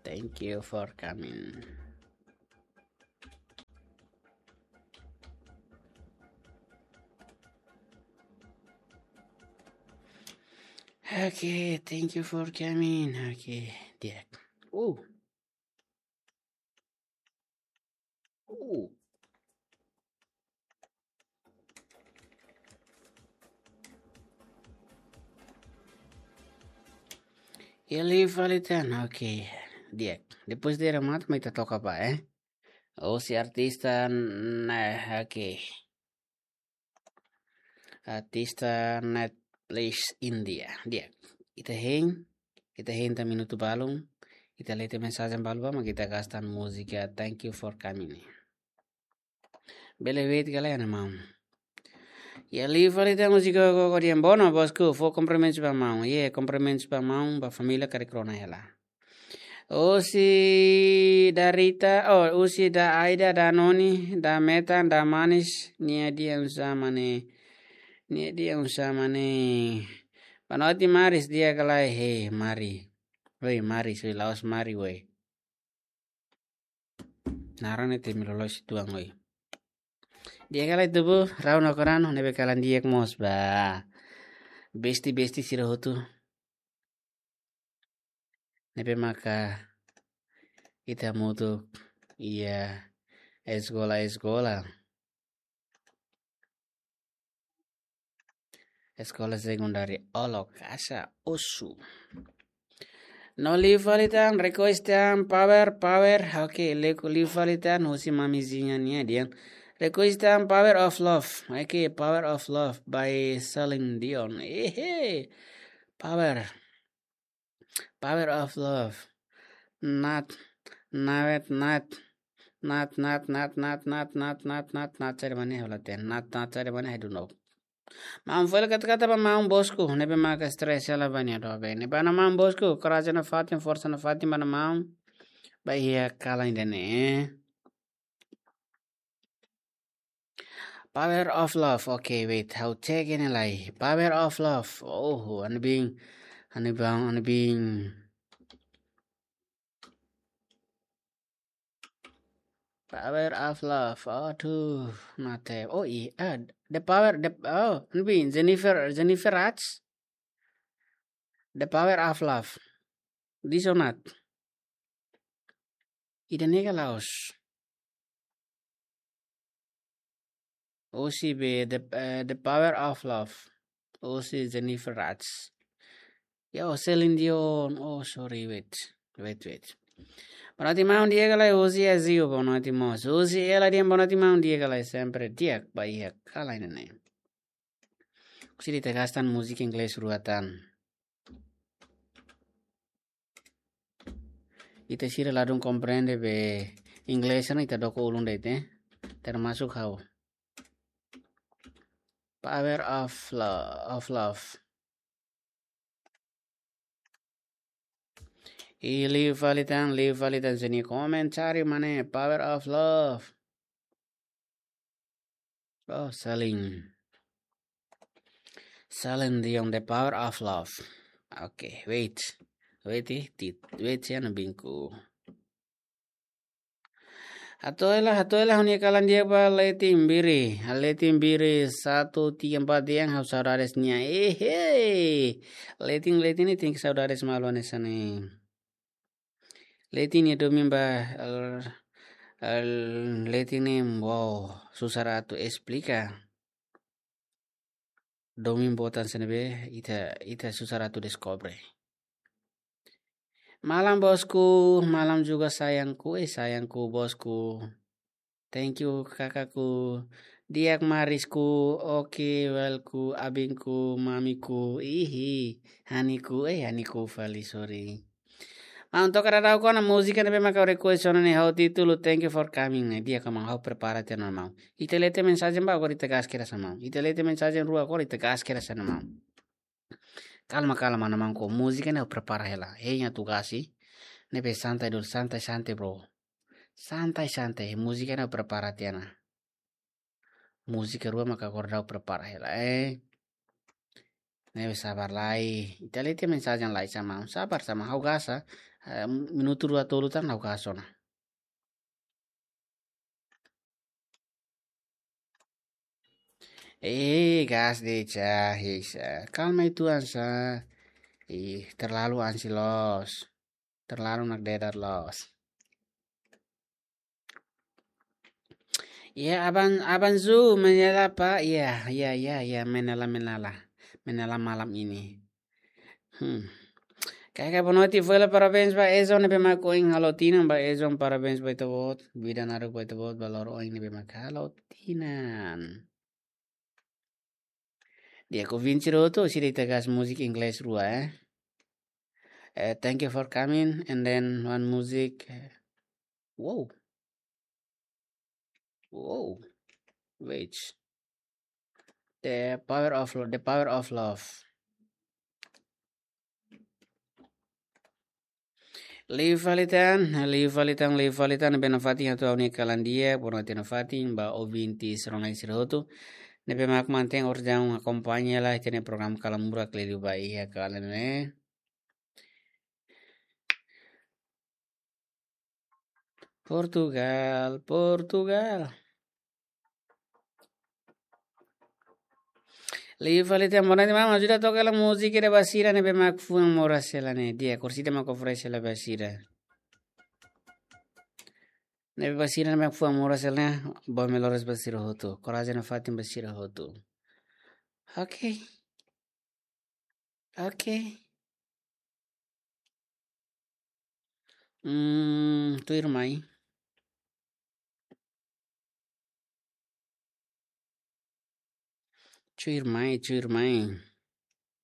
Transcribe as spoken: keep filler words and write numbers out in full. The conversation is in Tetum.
Thank you for coming. Okay, thank you for coming. Okay, di'ak. Uh. Uh. Iha live fali tan, okay. Di'ak. Depois de remata, mai ita toka ba, eh. Husi artista, nah, okay. Artista Netflix India. Di'ak. Ita hein, ita hein tan minutu balun. Ita lee tiha mensajen balu ba, mak ita gasta múzika Thank You for Coming. Bele wait ka lae, maun. Iha live fali tan husi Gogo Diambono, bosku, fó kumprimentus ba maun. Iha, kumprimentus ba maun, ba família karik rona hela. Husi da Rita, oh, husi da Aida, da Noni, da Metan, da Manis, nia dehan oinsá mak ne'e. Nia dehan oinsá mak ne'e. Boa noite, Maris, di'ak ka lae, hei, Mari. Oi, Maris, oi, la'ós Mari, oi. Naran ne'e temi loloos uitoan, oi. Di'ak ka lae, tubu, rau no korano, ne'ebé kalan di'ak mós ba. Besti-besti sira hotu. Ne'ebé maka ita hamutuk iha eskola-eskola. Eskola Sekundária Olokasa Osu. No live fali tan, request tan, power, power. Oke, le-, live fali tan, husi Mamizinha nia dehan. Request tan, Power of Love. Oke, Power of Love by Celine Dion. Ehe. Power. Power of Love. Nat, nawet, nat. Nat, nat, nat, nat, nat, nat, nat, nat, nat, cari mana ya, ulah teh. Nat, nat, cari mana ya, I don't know. Maun fali kata-kata ba maun bosku, ne'ebé maka stress hela ba nia doben. Ne'ebé maun bosku, korajen nafatin, forsa nafatin ba maun. Ba iha kalan ida-ne'e. Power of Love. Okay, wait. Ha'u cek iha ne'e lai. Power of Love. Oh, anbing. Anbing, anbing. Power of Love. Aduh, mate. Oh, i-, ah, The Power, the, oh, anbing. Jennifer, Jennifer Raj. The Power of Love. This or not? Ida-ne'e ka la'ós? Husi be, the, eh, The Power of Love. Husi Jennifer Raj. Ya, oh, Celine Dion. Oh, sorry, wait. Wait, wait. Boa noite, maun, di'ak ka lae, husi Azio, boa noite, mós. Husi ela dehan boa noite, maun, di'ak ka lae, sempre di'ak, ba iha kalan ida-ne'e. Husi ita gasta múzika inglés rua tan. Ita sira ladún komprende be inglés ne'e ita doko ulun de'it, eh. Termasuk ha'u. Power of Lo-, of Love. I live fali tan, live fali tan sini komentáriu mana, Power of Love. Oh, Celine. Celine Dion, The Power of Love. Oke, wait. Wait, eh, tit-, wait ya, anbingku. Hato'o hela, hato'o hela, ha'u-nia kalan di'ak ba Letin Biri. Letin Biri satu tiga empat dehan ha'u saudades nia. Ehe. Letin, Letin ne'e tenke saudades malu hanesan ne'e. Letin ne'e domin ba, el, el, Letin ne'e, wow, susar atu esplika. Domin boot hanesan ne'ebé, ita, ita susar atu deskobre. Malam bosku, malam juga sayangku, eh, sayangku bosku. Thank you kakakku. Di'ak Marisku, oke, welku, abingku, mamiku, ihi, haniku, eh, haniku fali, sorry. Maun toka daudauk ona múzika ne'ebé maka request ona ne'e, ha'u títulu Thank You for Coming ne'e. Di'ak ka maun, ha'u prepara tiha ona maun. Ita lee tiha mensajen ba, agora ita gas kedas ona maun. Ita lee tiha mensajen rua, agora ita gas kedas ona maun. Kalma, kalma, maun, ko múzika ne'e ha'u prepara hela. Hein atu gasi. Ne'ebé santai dulu, santai, santai, bro. Santai, santai. Múzika ne'e ha'u prepara tiha ona. Múzika rua maka agora ha'u prepara hela, eh. Ne'ebé sabar lai. Ita lee tiha mensajen lai sá maun. Sabar sá maun, ha'u gasta. Eh, minutu rua tolu tan ha'u kaas ona. Eh, gas de cha, hei sa. Kalma uitoan sa. Ih, terlalu ansi loos. Terlalu nakdedar loos. Ya, Aban, Aban Zu, menyala, Pak. Ya, ya, ya, ya, menyala, menyala. Menyala malam ini. Hmm. Kaka boa noite, fali parabéns ba Ezon ne'ebé mak ohin halo tinan, ba Ezon parabéns ba ita-boot, vida naruk ba ita-boot, ba loro oin ne'ebé mak halo tinan. Di'ak, ouvinte sira hotu, sira ita gas múzika inglés rua, eh. Eh, thank you for coming, and then one music, eh, wow. Wow. Wait. The power of lo-, the power of love. Liu fali tan, liu fali tan, liu fali tan, ne'ebé nafatin hato'o ha'u-nia kalan di'ak, boa noite nafatin, ba ouvinte sira-ne'e sira hotu. Ne'ebé mak mantein orjaun akompaña lai ita-nia programa Kalan Murak liuliu ba iha kalan ne'e. Portugal, Portugal. Liu fali tan, boa noite maun, ajuda toka hela múzika ida ba sira ne'ebé mak fuan moras hela ne'e. Di'ak, orsida mak oferese hela ba sira. Ne'ebé ba sira ne'ebé mak fuan moras hela ne'e, boa melhoras ba sira hotu. Korajen nafatin ba sira hotu. Oke. Oke. Hmm, tuirmai. Tuirmai, tuirmai.